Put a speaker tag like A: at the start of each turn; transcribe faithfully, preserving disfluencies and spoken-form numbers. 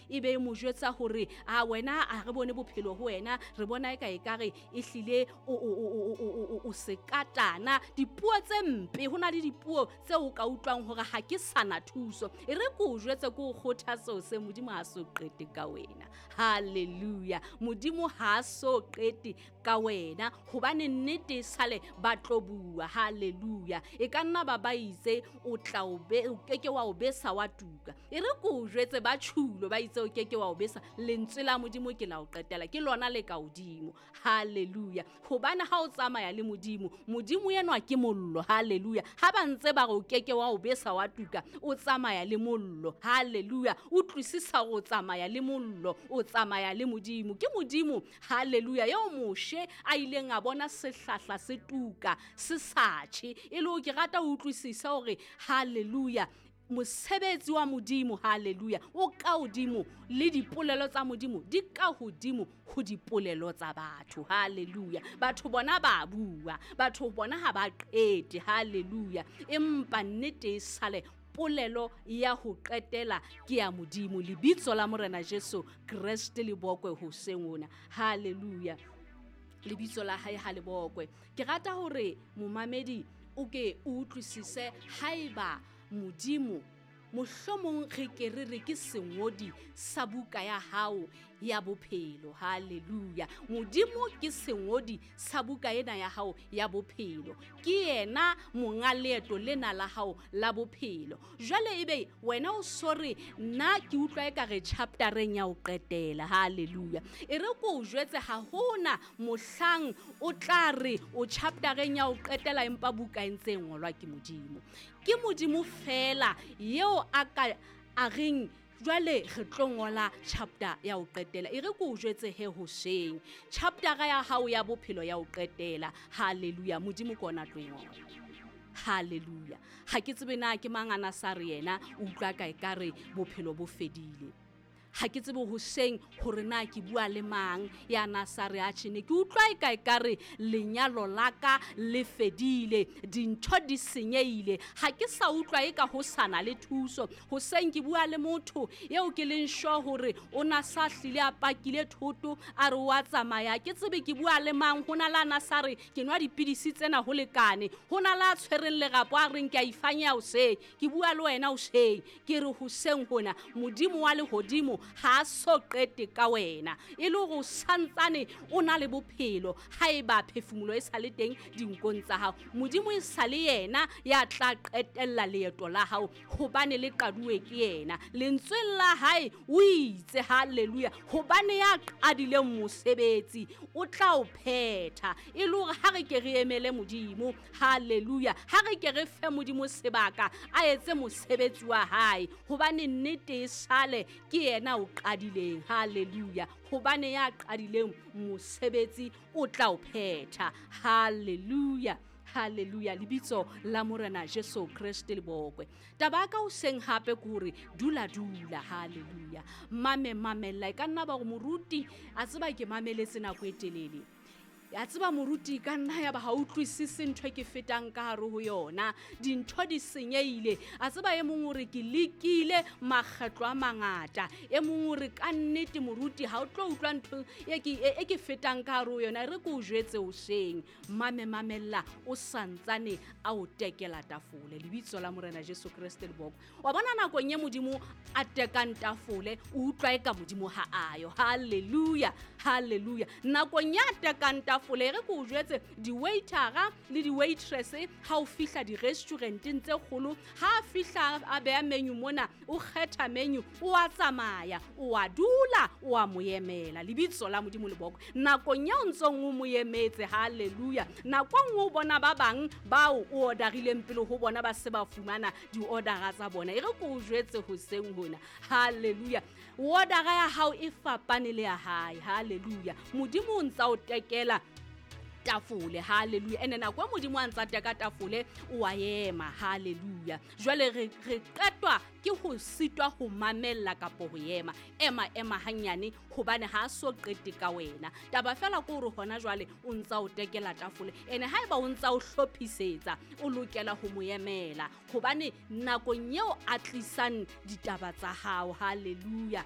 A: e be e mo jwetsa hore a wena a re bone bophelo ho wena, re bona eka ekare ehlile o o o o o sekatana. Dipuo tse mpe, ho na le dipuo tse o ka utlwang hore ha ke sana thuso. E re ke o jwetse, ke o kgothatse hoseng, Modimo ha so qete ka wena. Hallelujah. Modimo ha so qete ka wena, hobane nnete e sale ba tlo bua. Hallelujah. E ka nna ba ba itse o tla o be, o keke wa o besa wa tuka. E re ke o jwetse, ba tjhulo ba itse o keke wa o besa. Lentswe la Modimo ke la o qetela, ke lona le ka hodimo. Hallelujah. Hobane ha o tsamaya le Modimo, Modimo enwa ke mollo. Hallelujah. Ha ba ntse ba re o keke wa o besa wa tuka, o tsamaya le mollo. Hallelujah. Utlwisisa hore o tsamaya le mollo, o tsamaya le Modimo. Ke Modimo, hallelujah, eo Moshe a ileng a bona sehlahla se tuka se sa tjhe. E le hore ke rata ho utlwisisa hore hallelujah, mosebetsi wa Modimo, hallelujah, o ka hodimo le dipolelo tsa Modimo di ka hodimo ho dipolelo tsa batho. Hallelujah. Batho bona ba bua, batho bona ha ba qete. Hallelujah. Empa nnete e sale polelo ya ho qetela ke ya Modimo. Lebitso la Morena Jesu Kreste le bokwe hoseng hona. Hallelujah. Lebitso la hae ha le bokwe. Ke rata hore momamedi o ke o utlwisise haeba Modimo mohlomong re ke re re ke sengodi sa buka ya hao ya bophelo. Hallelujah. Modimo ke sengodi sa buka ena ya hao ya bophelo. Ke yena monga leeto lena la hao la bophelo. Jwale ebe wena o sore nna ke utlwa ekare chaptereng ya ho qetela. Hallelujah. E re ke o jwetse, ha hona mohlang o tla re o chaptereng ya ho qetela empa buka e ntse e ngolwa ke Modimo. Ke Modimo fela eo a ka a reng jwale re tlo ngola chapter ya ho qetela. E re ke o jwetse he hoseng, chaptera ya hao ya bophelo ya ho qetela. Hallelujah. Modimo ke ona tlo e ngola. Hallelujah. Ha ke tsebe na ke mang ana sa re yena o utlwa ka ekare bophelo bo fedile. Ha ke tsebe hoseng hore na ke bua le mang ya na sa re atjhe, ne ke utlwa eka ekare lenyalo la ka le fedile, dintho di senyehile, ha ke sa utlwa eka ho sana le thuso. Hoseng ke bua le motho eo ke leng sure hore o na sa hlile a pakile thoto, a re wa tsamaya. Ke tsebe ke bua le mang, ho na le a na sa re ke nwa dipidisi tsena ho lekane, ho na le a tshwereng lerapo a reng ke a ifanya hoseng. Ke bua le wena hoseng, ke re hoseng hona Modimo wa lehodimo ha so qete ka wena, e le hore o santsane o na le bophelo. Haeba phefumolo e sa le teng dinkong tsa hao, Modimo e sa le yena ya tla qetella leeto la hao, hobane le qaduwe ke yena. Lentsweng la hae o itse, hallelujah, hobane ya qadileng mosebetsi o tla o phetha. E le hore ha re ke re emele Modimo, hallelujah, ha re ke re fe Modimo sebaka a etse mosebetsi wa hae, hobane nnete e sale ke yena o qadileng. Hallelujah. Hobane ya qadileng mosebetsi o tla o phetha. Hallelujah. Hallelujah. Lebitso la Morena Jesu Kreste le bokwe. Taba ya ka hoseng hape ke hore dula dula. Hallelujah. Mame mamella. E ka nna ba hore moruti a tseba ke mameletse nako e telele. Ya tseba moruti ka nna ya ba ha utlwisise ntho e ke fetang ka hare ho yona. Dintho di senyehile. A tseba e mong hore ke lekile makgetlo a mangata. E mong hore ka nnete moruti ha o tlo utlwa ntho e ke, e, e ke fetang ka hare ho yona. E re ke o jwetse hoseng. Mame mamella o santsane a o tekela tafole. Lebitso la Morena Jesu Kreste le bokwe. Wa bona nakong e Modimo a tekang tafole, o utlwa eka Modimo ha ayo. Hallelujah. Hallelujah. Nakong ya tekang tafole, e re ke o jwetse, di-waitera le di-waitress ha o fihla di-restauranteng tse kgolo, ha a fihla a beha menu mona, o kgetha menu, o a tsamaya, o a dula, o a mo emela. Lebitso la Modimo le bokwe. Nakong ya o ntsong o mo emetse, hallelujah, nako e nngwe o bona ba bang bao o orderileng pele ho bona ba se ba fumana di-ordera tsa bona. E re ke o jwetse hoseng hona, hallelujah, ordera ya hao e fapane le ya hae. Hallelujah. Modimo o ntsa o tekela tafole. Hallelujah. Ene nako e Modimo a ntsa teka tafole, o a ema. Hallelujah. Jwale re, re qetwa ke ho sitwa ho mamella kapo ho ema. Ema, ema hanyane, hobane ha a so qete ka wena. Taba fela ke hore hona jwale o ntsa o tekela tafole. Ene haeba o ntsa o hlophisetsa, o lokela ho mo emela, hobane nakong eo a tlisang ditaba tsa hao, hallelujah,